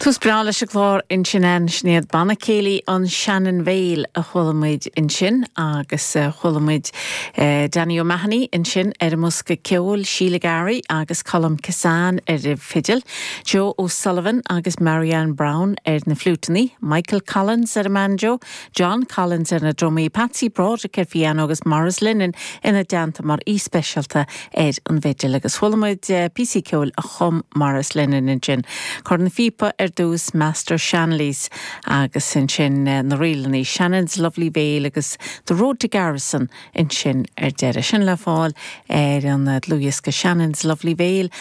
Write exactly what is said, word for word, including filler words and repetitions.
Tús breá leis an gclár ansin an sin iad Banna Céilí an Shannon Vale a chuala muid ansin agus uh, chuala muid uh, Danny O'Mahony ansin ar an mbosca ceoil Sheila Gary agus Colm Kissane ar an bhfidil, Joe O'Sullivan agus Marianne Brown ar na fliúiteanna, Michael Collins ar an banjo, John Collins ar na drumaí, Patsy Broderick ar piano agus Maurice Lennon ina dteannta mar aoi speisialta ar an bhfidil agus chuala muid uh, píosa ceoil a chum Maurice Lennon ansin. Corn phíopa ar dtús Master Shanley's agus ansin uh, na ríleanna Shannon's Lovely Vale agus The Road to Garrison ansin ar deireadh sin le fáil ar an dlúthdhiosca Shannon's Lovely Vale